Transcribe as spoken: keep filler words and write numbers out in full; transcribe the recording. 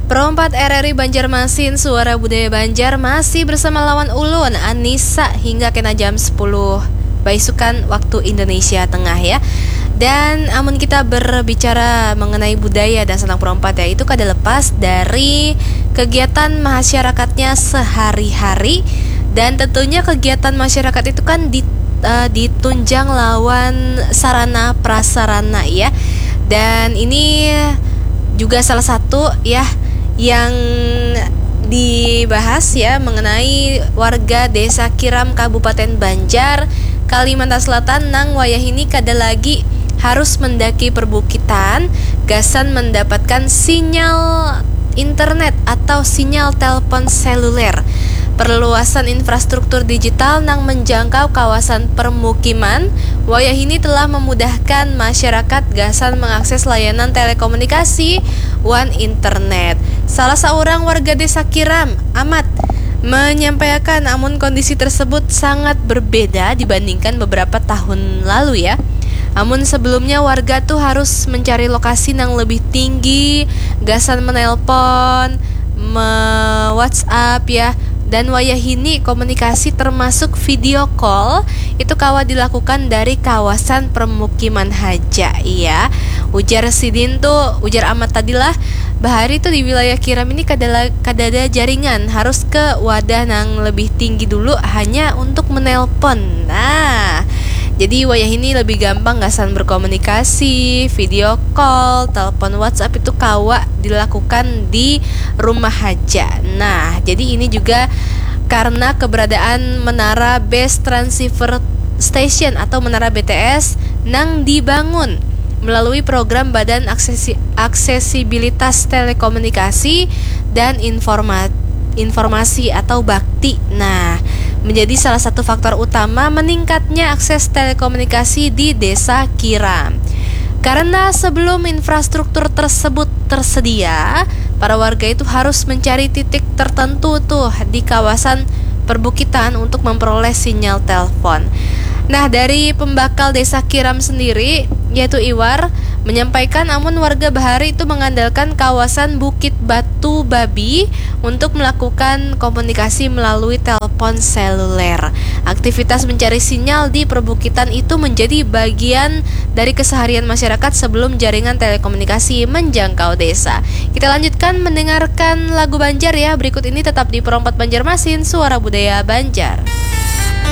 Pro empat R R I Banjarmasin, Suara Budaya Banjar, masih bersama lawan ulun, Anissa, hingga kena jam sepuluh baisukan waktu Indonesia Tengah, ya. Dan amun kita berbicara mengenai budaya dan santang Pro empat, ya, itu kada lepas dari kegiatan masyarakatnya sehari-hari. Dan tentunya kegiatan masyarakat itu kan di, eh, ditunjang lawan sarana prasarana, ya. Dan ini juga salah satu, ya, yang dibahas, ya, mengenai warga Desa Kiram, Kabupaten Banjar, Kalimantan Selatan, nang wayah ini kada lagi harus mendaki perbukitan gasan mendapatkan sinyal internet atau sinyal telepon seluler. Perluasan infrastruktur digital nang menjangkau kawasan permukiman wayah ini telah memudahkan masyarakat gasan mengakses layanan telekomunikasi wan internet. Salah seorang warga Desa Kiram, Amat, menyampaikan, amun kondisi tersebut sangat berbeda dibandingkan beberapa tahun lalu, ya. Amun sebelumnya warga tuh harus mencari lokasi nang lebih tinggi gasan menelpon, me-WhatsApp, ya. Dan wayah ini komunikasi termasuk video call itu kawa dilakukan dari kawasan permukiman haja, ya. Ujar sidin tuh, ujar Amat tadi lah, bahari tuh di wilayah Kiram ini kada la-, kada ada jaringan, harus ke wadah nang lebih tinggi dulu hanya untuk menelpon. Nah, jadi wayah ini lebih gampang gasan berkomunikasi, video call, telepon WhatsApp itu kawa dilakukan di rumah haja. Nah, jadi ini juga karena keberadaan menara base transceiver station atau menara B T S nang dibangun melalui program Badan Aksesi-, Aksesibilitas Telekomunikasi dan Informa-, Informasi atau bakti. Nah, menjadi salah satu faktor utama meningkatnya akses telekomunikasi di Desa Kiram. Karena sebelum infrastruktur tersebut tersedia, para warga itu harus mencari titik tertentu tuh di kawasan perbukitan untuk memperoleh sinyal telepon. Nah, dari pembakal Desa Kiram sendiri, yaitu Iwar, menyampaikan amun warga bahari itu mengandalkan kawasan Bukit Batu Babi untuk melakukan komunikasi melalui telepon seluler. Aktivitas mencari sinyal di perbukitan itu menjadi bagian dari keseharian masyarakat sebelum jaringan telekomunikasi menjangkau desa. Kita lanjutkan mendengarkan lagu Banjar, ya. Berikut ini tetap di Pro empat Banjarmasin, Suara Budaya Banjar.